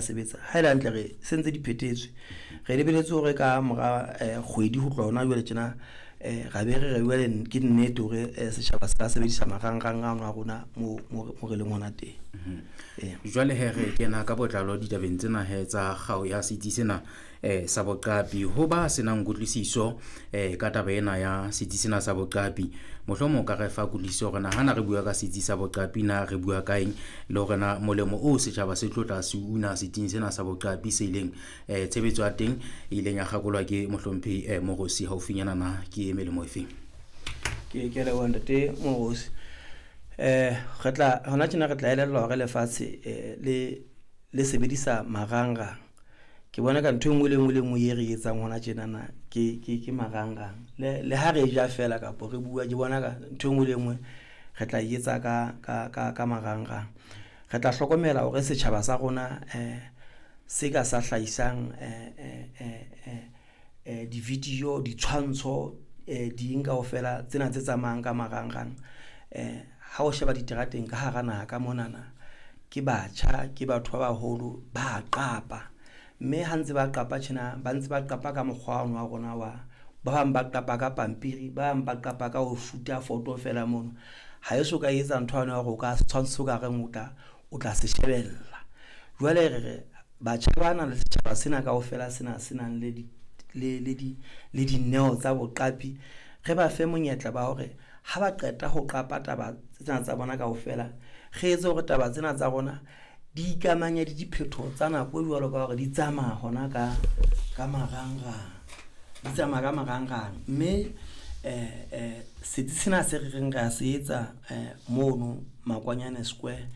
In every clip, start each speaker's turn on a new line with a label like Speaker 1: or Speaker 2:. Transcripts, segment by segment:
Speaker 1: sebetsa. Ha e le hantle re sentse di phethetswe. Re lebeletse hore ka mora kgwedi ho tloha hona jwale tjena, ra be re re jwale ke nnete hore setjhaba se ka sebedisa marangrang ano a rona mo re leng hona teng.
Speaker 2: Jwale he re kena ka botlalo ditabeng tsena he tsa kgao ya setsi sena sa boqapi. Ho ba senang kutlwisiso ka taba ena ya setsi sena sa boqapi, mohlomong o ka re fa kutlwisiso hore na hana re bua ka setsi sa boqapi na re bua ka eng, le hore na molemo oo setjhaba se tlo tla se una setsing sena sa boqapi se ileng tshebetso ya teng e ileng ya kgakolwa ke mohlomphehi Moorosi haufinyana na ke melemo efeng?
Speaker 1: Ke leboha ntate Moorosi. Re tla hona tjena re tla elellwa hore lefatshe le sebedisa marangrang. Ke bona ka ntho e nngwe le nngwe le nngwe e re etsang hona tjenana ke marangrang. Le ha re ja fela kapa re bua, ke bona ka ntho e nngwe le nngwe re tla e etsa ka marangrang. Re tla hlokomela hore setjhaba sa rona se ka sa hlahisang di-video, ditshwantsho, ding kaofela tsena tse tsamayang ka marangrang. Ha o sheba diterateng ka hara naha ka monana, ke batjha, ke batho ba baholo ba qapa. Mme ha ntse ba qapa tjena, ba ntse ba qapa ka mokgwa ono wa rona wa ba bang ba qapa ka pampiri, ba bang ba qapa ka ho shoot-a foto fela mono. Ha e so ka etsa ntho yane ya hore o ka setshwantsho ka reng o tla se shebella. Jwale re re batjha bana le setjhaba sena kaofela sena se nang le le dineo tsa boqapi, re ba fe monyetla ba hore ha ba qeta ho qapa taba tsena tsa bona kaofela, re etse hore taba tsena tsa rona di ikamanye le diphethoho tsa nako e jwalo ka hore di tsamaya hona ka marangrang. Di tsamaya ka marangrang. Mme setsi sena se re reng re a se etsa mono Makwanyane Square,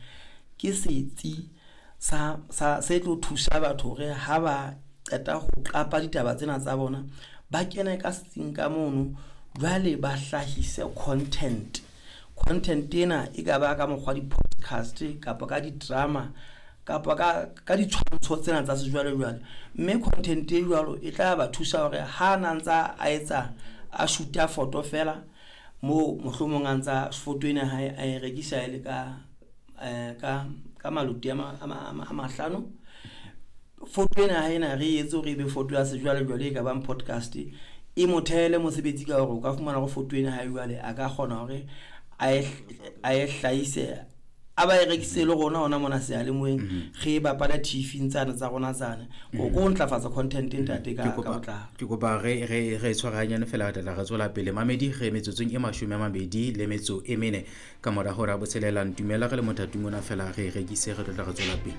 Speaker 1: ke setsi sa se tlo thusa batho hore ha ba qeta ho qapa ditaba tsena tsa bona, ba kene ka setsing ka mono, jwale ba hlahise content. Content ena e ka ba ka mokgwa di-podcast kapa ka di-drama kapa ka ditshwantsho tsena tsa sejwalejwale. Mme content e jwalo e tla ba thusa hore ha na ntsa a etsa a shoot-a foto fela moo mohlomong a ntsa foto ena hae a e rekisa e le ka maloti a mahlano. Foto ena hae ena re etse hore ebe foto ya sejwalejwale e ka bang podcast, e mo thehele mosebetsi ka hore o ka fumana hore foto ena hae jwale a ka kgona hore a e hlahise, a ba e rekise le rona hona mona seyalemoyeng, re bapala TV tsane tsa rona tsane. Ko ntlafatsa content ntate ka botlalo.
Speaker 2: Ke kopa re tshwarahanyane fela re tla re tswela pele. Mamedi re metsotsong e 24 ka mora hora ya 6. Ntumella re le mothating ona fela re rekise, re tlo tla re tswela pele.